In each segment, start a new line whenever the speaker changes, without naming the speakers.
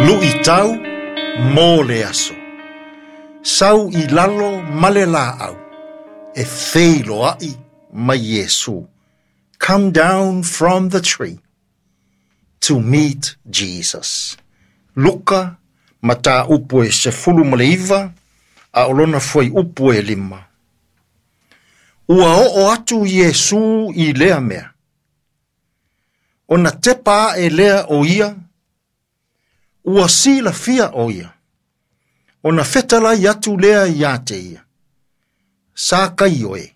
Luʻitau mo le aso. Sau i lalo ma le laau e feiloai ma Iesu. Come down from the tree to meet Jesus. Luka, mataupu e 19, a o lona fuaiupu e 5. Ua oo atu Iesu i lea mea. Ona tepa aʻe lea o ia, ua silafia o ia. Ona fetalai atu lea ia te ia. Sakaio e,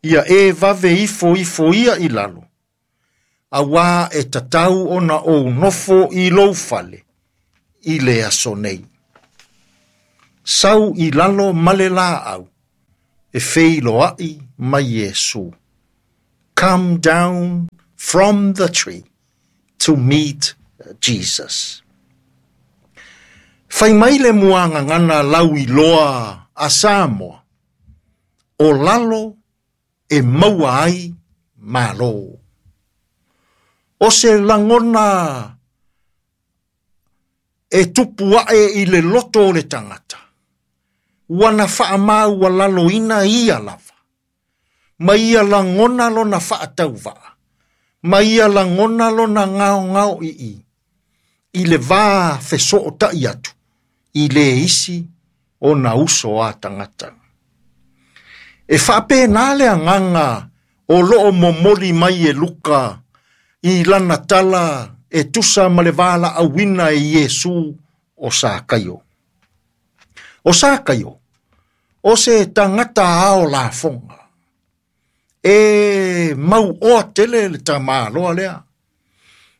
ia e vave ifo ifo ia i lalo, auā e tatau ona ou nofo i lou fale, i le aso nei. Sau i lalo ma le laau, e feiloai ma Iesu. Come down from the tree to meet Jesus. Fai mai le muagagana lauiloa a Samoa, o lalo e maua ai malo. O se lagona e tupu aʻe i le loto o le tagata, ua na faamaualaloina ia lava, ma ia lagona lona faatauvaa, ma ia lagona lona gaogaoii, i le va fesootai atu, i le isi ona uso a tagata. E faapena le agaga o loo momoli mai e Luka i lana tala e tusa ma le valaauina e Iesu o Sakaio. O Sakaio, o se tagata ao lafoga. E mauoa tele le tamāloa lea.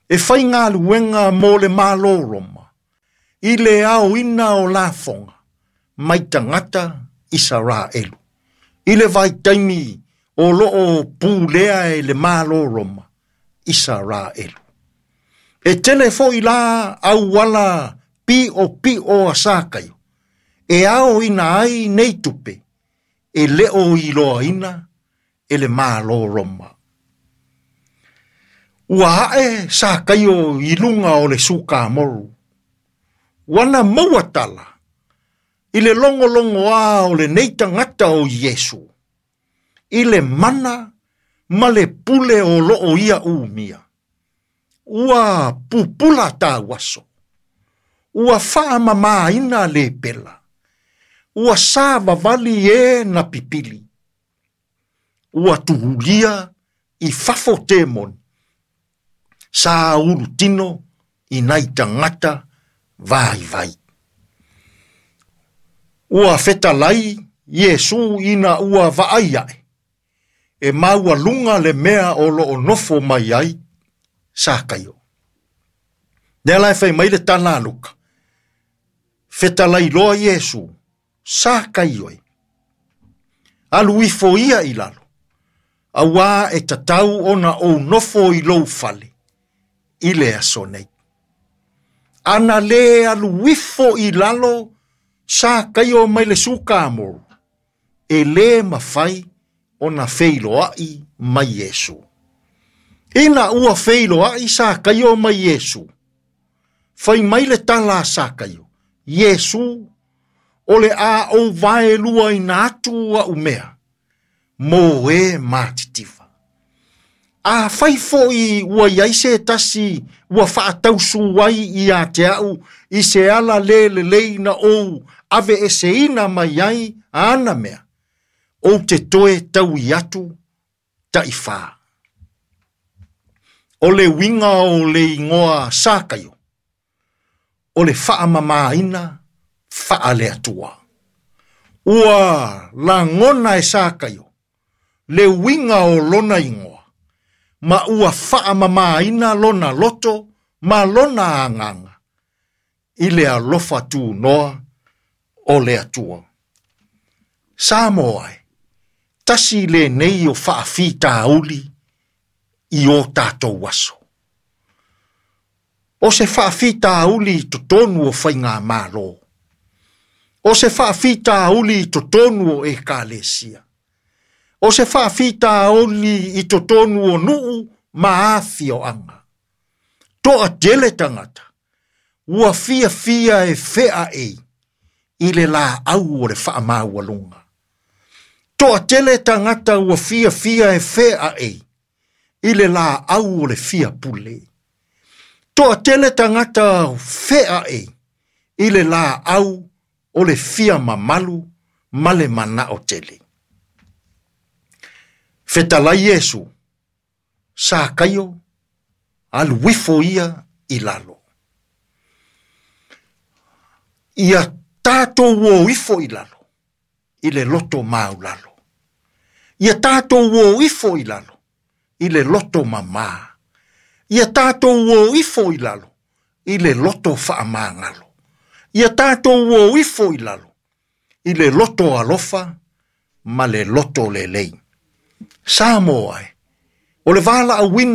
E faigaluega mo le Malo Roma, i le aoina o lafoga, mai tagata Isaraelu. I le vaitaimi o loo pulea e le Malo Roma, Isaraelu. E tele foi la auala piʻopiʻo a Sakaio, e aoina ai nei tupe, e le o iloaina e le Malo Roma. Ua ae Sakaio i luga o le sukamoru. Ua na maua tala i le logologoa o lenei tagata o Iesu, i le mana ma le pule o loo ia umia. Ua pupula tauaso, ua faamamaina lepela, ua savavali e na pipili, ua tuulia i fafo temoni, sa ulutino i nai tagata vaivai. Ua fetalai Iesu ina ua vaai aʻe, e maualuga le mea o loo nofo mai ai Sakaio. Lea la e fai mai le tala a Luka, fetalai loa Iesu, Sakaio e, alu ifo ia i lalo, auā e tatau ona ou nofo i lou fale, i le aso nei. Ana lē alu ifo i lalo Sakaio mai le sukamoru, e lē mafai ona feiloai ma Iesu. Ina ua feiloai Sakaio ma Iesu, fai mai le tala a Sakaio, Iesu, o le a ou vaeluaina atu aʻu mea, mo e matitiva. Afai foi ua i ai se tasi ua faatausu ai ia te au i se ala le lelei na ou aveeseina mai ai ana mea, ou te toe taui atu taifā. O le uiga o le igoa Sakaio, o le faamamaina faale-Atua. Ua lagona e Sakaio le uiga o lona igoa, ma ua faamamaina lona loto ma lona agaga i le alofa tunoa o le Atua. Samoa e, tasi lenei o faafitauli i o tatou aso. O se faafitauli i totonu o faigamalo. O se faafitauli i totonu o ekalesia. O se faafitauli i totonu o nuu ma afioaga. Toatele tagata, ua fiafia e feaei i le laau o le faamaualuga. Toatele tagata ua fiafia e feaei i le laau o le fia pule. Toatele tagata feaei i le laau o le fia mamalu ma le manao tele. Fetalai Iesu, Sakaio, alu ifo ia i lalo. Ia tatou o ifo i lalo, i le loto maulalo. Ia tatou o ifo i lalo, i le loto mamā. Ia tatou o ifo i lalo, i le loto faamagalo. Ia tatou o ifo i lalo, i le loto alofa ma le loto lelei. Samoa e, o le valaauina.